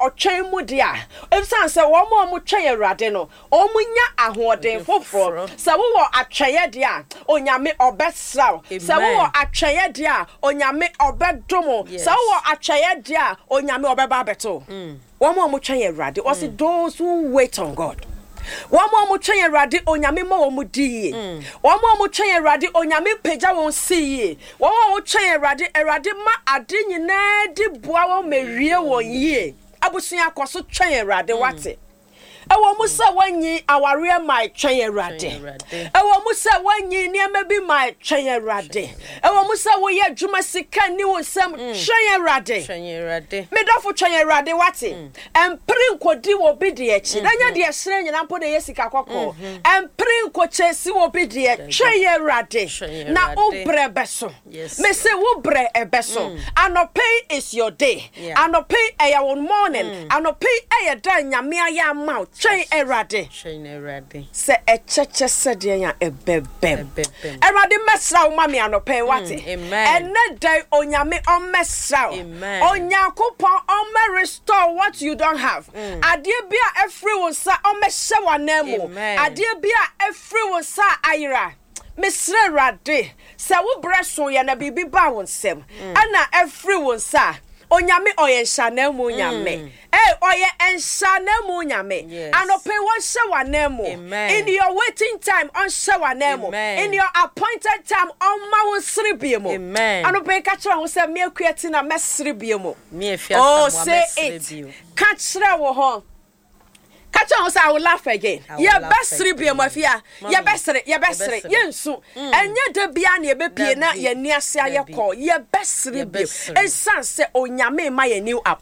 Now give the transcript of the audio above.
ɔtwɛn mu deɛ a, ɛsiane sɛ wɔn a wɔtwɛn Awurade no, wɔnya ahoɔden foforɔ. Sɛ wowɔ atwɛeɛ deɛ a, Onyame ɔbɛsra wo. Sɛ wowɔ atwɛeɛ deɛ a, Onyame ɔbɛdom wo. Sɛ wowɔ atwɛeɛ deɛ a, Onyame ɔbɛba abɛto wo. Wɔn a wɔtwɛn Awurade, ɔse those who wait on God. Wɔn a wɔtwɛn Awurade, Onyame ma wɔn di yie. Wɔn a wɔtwɛn Awurade, Onyame pagya wɔn si yie. Wɔn a wɔtwɛn Awurade, Awurade ma ade nyinaa di boa wɔn ma ewie wɔn yie. Abusua kɔ so twɛn Awurade, wate. Ɛwɔ mu sɛ woanyi awareɛ mae, twɛn Awurade. Ɛwɔ mu sɛ woanyi nneɛma bi mae, twɛn Awurade. Ɛwɔ mu sɛ woyɛ adwuma sika nni wo nsam, mm. twɛn Awurade. Me dɔfo twɛn Awurade wate. Mm. Ɛmpere nkɔdi wɔ bi deɛ akyi. Na nyɛ mm-hmm. deɛ hyerɛn nyina mpo na ɛyɛ sika kɔkɔɔ. Mm-hmm. Ɛmpere nkɔkyɛsi wɔ bi deɛ, twɛn Awurade. Na wo brɛ bɛso. Me se wo brɛ ɛbɛso. Mm. Anɔpɛ yi is your day. Anɔpɛ yi ɛyɛ wo morning. Mm. Anɔpɛ yi ɛyɛ da Nyame ayɛ ama wo. Twɛn Awurade. Sɛ ɛkyɛkyɛ sɛdeɛ a ɛbɛbɛm. Awurade mmɛsra wo ma me anɔpɛ yi wate. Mm, Ɛnɛ da yi Onyame ɔmmɛsra wo. Onyankopɔn ɔmmɛ restore what you don't have. Adeɛ bi a ɛfiri wo nsa ɔmmɛhyɛ w'anan mu. Adeɛ bi a ɛfiri wo nsa a ayera. Mesrɛ Awurade sɛ wo berɛ so yɛ na biribi baa wo nsam ɛna afiri wo nsa a, Onyame ɔyɛ nhyɛananmu Nyame. Ei, ɔyɛ nhyɛananmu Nyame. Anɔpa yi wɔnhyɛ w'ananmu. In your waiting time, ɔnhyɛ w'ananmu. In your appointed time, ɔmma wo nsere bio mu. Anɔpa yi ka kyerɛ wo ho sɛ, me Akua Tina mɛsere bio mu. Oh, say it. Ka kyerɛ wo ho. Ka kyerɛ ho sɛ I will laugh again. Yɛbɛsere bio mu afia. Yɛbɛsere, yɛbɛsere, yɛnsu. Mm. Ɛnyɛ da biara na yɛbɛpie na yɛn ani ase ayɛ kɔɔ. Yɛbɛsere bio. Ɛsiane sɛ Onyame ma yɛn new appointment.